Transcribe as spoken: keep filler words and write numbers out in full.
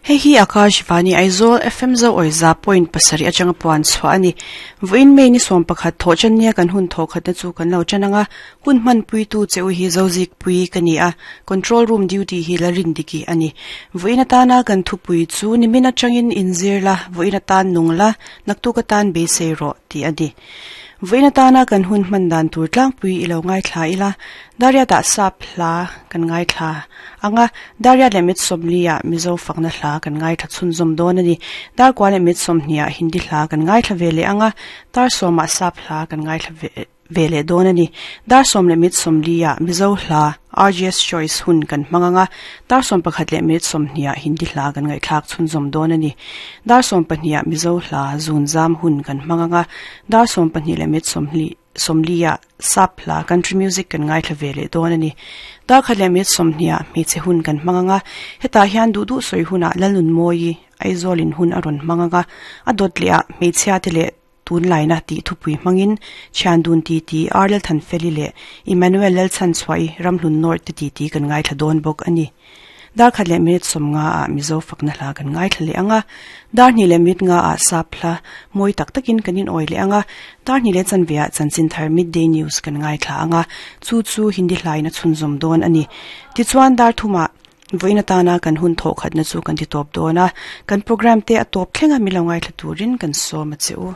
Hei hi Akashvani Aizawl F M zo awi za point pasarih atanga puan chhuah a ni. Vawiin May ni sawm pakhat thawh chan nia kan hun thawh khatna chu kan lo chan anga hun hman puitu che u hi Zozik pui ka ni a, control room duty hi la rin diki a ni. Vawiin atana kan thupui chu nimin atangin inzir la, vawiin atan nung la, naktuk atan beisei rawh tih a ni. Vawiin atana kan hun hman dan tur tlangpui i lo ngaithla ila, Dariat ah sap hla kan ngaithla anga Dariat leh mit sawmli ah Mizo fakna hla kan ngaithla chhunzawm dawn a ni. Darkua leh mit sawmhnih ah Hindi hla kan ngaithla ve leh anga dar sawm ah sap hla kan ngaithla ve ve leh dawn a ni. Dar sawm leh mit sawmli ah Mizo hla R G S Choice hun kan hmang anga dar sawm pakhat leh minute sawmhnih ah Hindi hla kan ngaihthlak chhunzawm dawn a ni. Dar sawm pahnih ah Mizo hla zun zam hun kan hmang anga dar sawm pahnih leh minute sawmhli sawmli ah sap hla country music kan ngaithla ve leh dawn a ni. Dar khat leh minute sawmhnih ah hmeichhe hun kan hmang anga hetah hian duh duh sawi hunah Lalnun Mawi Aizawl in hun a rawn hmang anga a dawt leh ah hmeichhia te leh tunlaina tih thupui hmangin Thiandun ti ti Arlel Thanfeli leh Emmanuel Lalchan chhuahi Ramhlun North te ti ti kan ngaithla dawn bawk a ni. Dar khat leh minute sawm nga ah Mizo fakna hla kan ngaithla leh anga dar hnih leh minute nga ah sap hla mawi tak takin kan in awi leh anga dar hnih leh chanve ah chanchin thar midday news kan ngaithla anga chu chu Hindi hlain a chhunzawm dawn a ni. Tichuan dar thumah vawiin atana kan hun thawh khatna chu kan ti tawp dawn a, kan program te a tawp thlenga mi lo ngaithla turin kan sawm a che u.